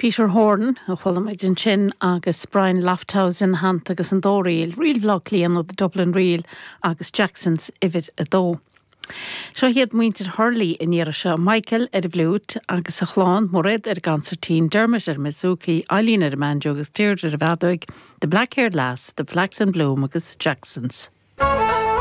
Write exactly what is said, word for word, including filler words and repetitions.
Peter Horn a chuala muid ansin agus Brian Lofthouse ina theannta agus an dá ríl, Ríl Bhaile Átha Cliath nó the Dublin Reel agus Jackson's uimhir a dó. Seo hiad muintir Hurley an iarraidh seo Michael ar an bhfliúit agus a chlann Mairéad ar an gconsairtín Dermot ar bouzouki, Eileen ar an mbanjo agus Deirdre ar an bhfeadóg, The Black Haired Lass, The Flax in Bloom agus Jackson's. Thank